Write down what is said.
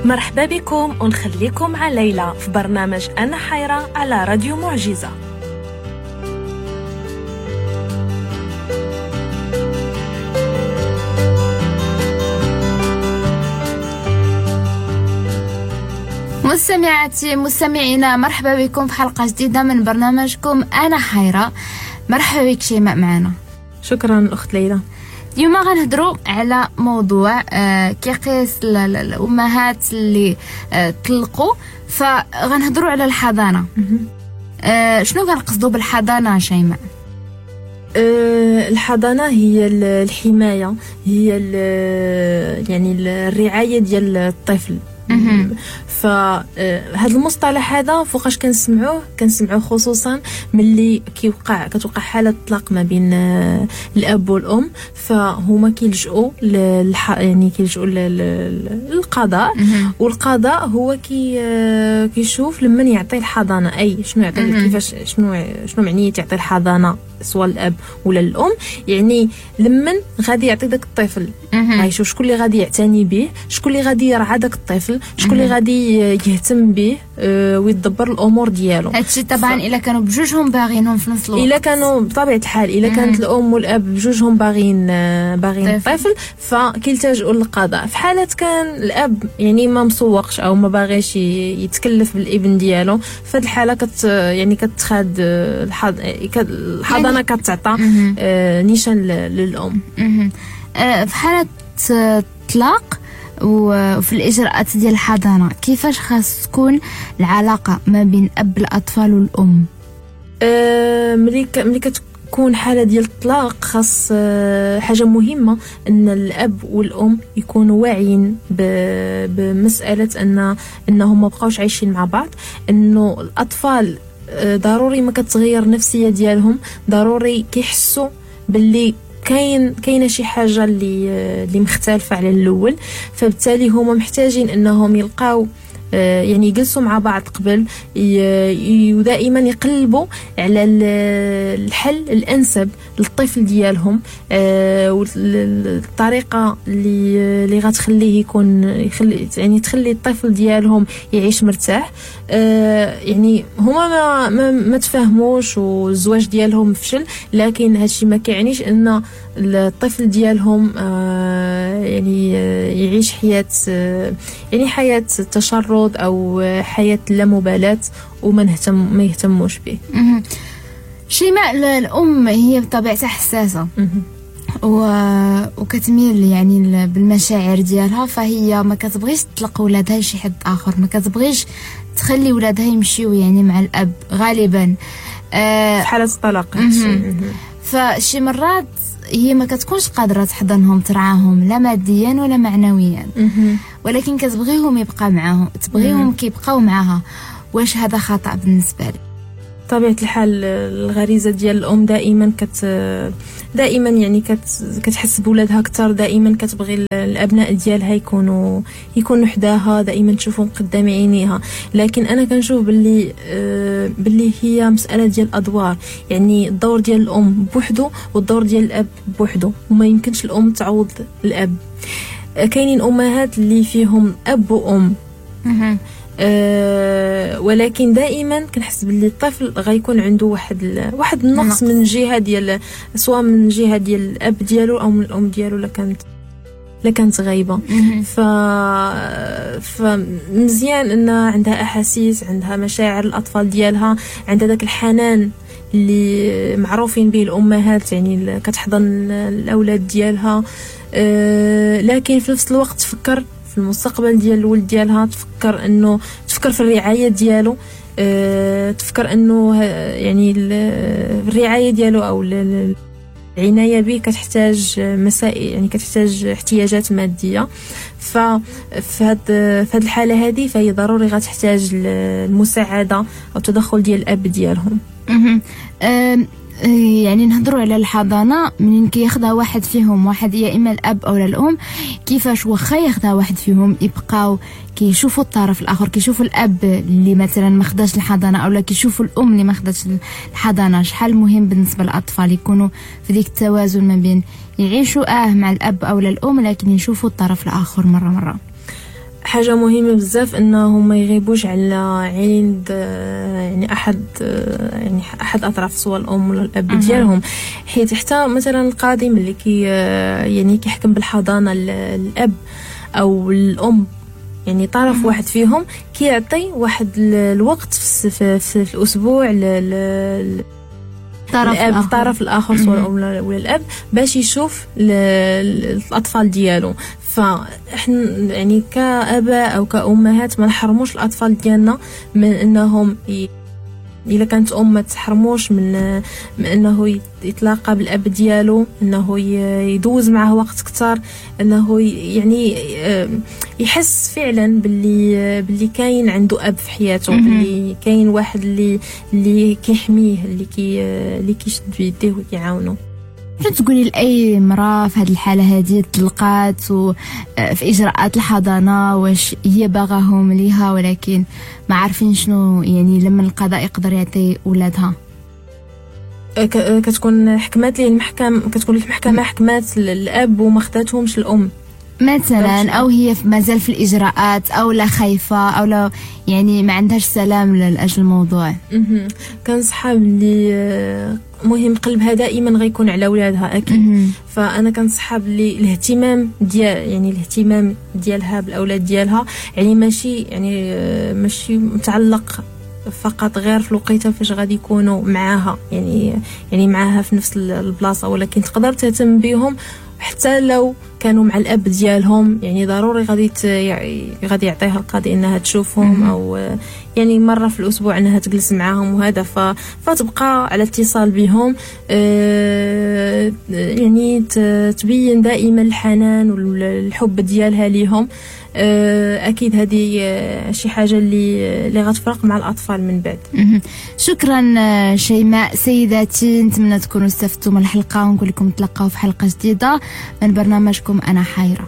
مرحبا بكم ونخليكم مع ليلى في برنامج أنا حيرة على راديو معجزة. مستمعاتي مستمعينا، مرحبا بكم في حلقة جديدة من برنامجكم أنا حيرة. مرحبا بك شيماء معنا. شكرا أخت ليلى. اليوم غنهضروا على موضوع كيقيس الأمهات اللي طلقوا، فغنهضروا على الحضانة. شنو كنقصدوا بالحضانة شيماء؟ الحضانة هي الحماية، هي يعني الرعاية ديال الطفل. فهذا المصطلح هذا فوقاش كنسمعوه خصوصا ملي كتوقع حالة طلاق ما بين الاب والام، فهما كيلجؤوا يعني كيلجؤوا للقضاء، والقضاء هو كيشوف لمن يعطي الحضانة، اي شنو يعطي، كيفاش، شنو معنية يعطي الحضانة سواء الاب ولا الام، يعني لمن غادي يعطي داك الطفل، غيشوف شكون اللي غادي يعتني به، شكون اللي غادي يرعى داك الطفل، شكون اللي غادي يهتم به ويدبر الامور ديالو. هادشي طبعا الا كانوا بجوجهم باغينهم في نفس الوقت، الا كانوا بطبيعة الحال، الا كانت الام والاب بجوجهم باغين الطفل فكيلتجؤوا للقضاء. في حاله كان الاب يعني ما مسوقش او ما باغيش يتكلف بالابن ديالو، فهاد الحالة يعني كتخاد الحضانة كتعطى نيشان للام. في حاله الطلاق وفي الإجراءات ديال الحضانة، كيفاش خاص تكون العلاقة ما بين أب الأطفال والأم؟ ملي كتكون حالة ديال الطلاق، خاص حاجة مهمة أن الأب والأم يكونوا واعيين بمسألة أنهم ما بقاوش عايشين مع بعض، أنه الأطفال ضروري ما كتغير النفسية ديالهم، ضروري كيحسوا باللي كاينه شي حاجة اللي مختلفة على الاول، فبالتالي هما محتاجين انهم يلقاو يعني يجلسوا مع بعض قبل، ودائما يقلبوا على الحل الانسب للطفل ديالهم، والطريقة اللي غتخليه يكون يعني تخلي الطفل ديالهم يعيش مرتاح. يعني هما ما تفاهموش والزواج ديالهم فشل، لكن هادشي ما كيعنيش ان الطفل ديالهم يعني يعيش حياة، يعني حياة تشرد او حياة لا مبالاة وما ما يهتموش به. شيماء، الام هي بطبيعتها حساسة وكتميل يعني بالمشاعر ديالها، فهي ما كتبغيش تطلق ولادها لشي حد اخر، ما كتبغيش تخلي ولادها يمشيو يعني مع الاب غالبا في حاله الطلاق. فشي مرات هي ما كتكونش قادرة تحضنهم، ترعاهم لا ماديا ولا معنويا، ولكن كتبغيهم يبقى معاهم، تبغيهم كيبقاو معاها. واش هذا خطأ بالنسبة لك؟ طبيعة الحال الغريزة ديال الأم دائما دائما يعني كتحس بولادها أكثر، دائما كتبغي الأبناء ديالها يكونوا حداها، دائما تشوفهم قدام عينيها. لكن أنا كنشوف باللي هي مسألة ديال الأدوار، يعني الدور ديال الأم بوحدو والدور ديال الأب بوحدو، وما يمكنش الأم تعوض الأب. كاينين أمهات اللي فيهم أب وأم، ولكن دائما كنحس باللي الطفل غيكون عنده واحد النقص من جهة ديال، سواء من جهة ديال الاب ديالو او من الام ديالو لا كانت غايبة. فمزيان ان عندها احاسيس، عندها مشاعر الاطفال ديالها، عندها داك الحنان اللي معروفين به الامهات، يعني كتحضن الاولاد ديالها. لكن في نفس الوقت تفكر في المستقبل ديال الولد ديالها، تفكر في الرعاية ديالو، تفكر انه يعني الرعاية ديالو او العناية به كتحتاج مسائل، يعني كتحتاج احتياجات مادية. ففي هاد الحالة هذه فهي ضروري غتحتاج المساعدة او التدخل ديال الاب ديالهم. يعني نهضروا على الحضانة منين كياخذها واحد فيهم، واحد يا اما الاب او الام، كيفاش واخا ياخذها واحد فيهم يبقاو كيشوفوا الطرف الاخر، كيشوفوا الاب اللي مثلا ما خداش الحضانة او لا كيشوفوا الام اللي ما خداش الحضانة. شحال مهم بالنسبة للاطفال يكونوا في ديك التوازن ما بين يعيشوا مع الاب او الام، لكن يشوفوا الطرف الاخر مرة مرة. حاجة مهمة بزاف انهم ما يغيبوش على عند يعني احد، يعني احد اطراف، سواء الام ولا الاب ديالهم، حيت حتى مثلا القاضي ملي كي يعني كيحكم بالحضانه الاب او الام، يعني طرف واحد فيهم، كيعطي واحد الوقت في الاسبوع الطرف الاخر، سواء الام ولا الاب، باش يشوف الاطفال ديالو. فاحنا يعني كاباء او كامهات ما نحرموش الاطفال ديالنا من انهم الا كانت ام ما تحرموش من انه يتلاقى بالاب ديالو، انه يدوز معه وقت اكثر، انه يعني يحس فعلا باللي كاين عنده اب في حياته، باللي كاين واحد اللي كيحميه، اللي كيشد بيديه وكيعاونو. شنو تقولي لاي امراة في هذه الحالة هذه تلقات وفي اجراءات الحضانة، واش هي باغاهم ليها ولكن ما عارفين شنو يعني لما القضاء يقدر يعطي ولادها؟ كتكون حكمات ليه المحكمة، كتكون المحكمة حكمات الاب وما خداتهمش الام مثلا، او هي مازال في الاجراءات، او لا خايفة، او لا يعني ما عندهاش سلام لاجل الموضوع. كنصحها باللي مهم قلبها دائما غيكون على ولادها اكيد. فانا كنصحها باللي الاهتمام ديال يعني الاهتمام ديالها بالاولاد ديالها يعني ماشي متعلق فقط غير في الوقيته فاش غادي يكونوا معاها، يعني معاها في نفس البلاصة، ولكن تقدر تهتم بهم حتى لو كانوا مع الاب ديالهم. يعني ضروري غادي يعطيها القاضي انها تشوفهم، او يعني مرة في الاسبوع انها تجلس معاهم وهذا، فتبقى على اتصال بهم، يعني تبين دائما الحنان والحب ديالها ليهم. اكيد هذه شي حاجة اللي غتفرق مع الاطفال من بعد. شكرا شيماء. سيداتي، نتمنى تكونوا استفدتوا من الحلقة، ونقول لكم تلقاو في حلقة جديدة من برنامجكم انا حيره.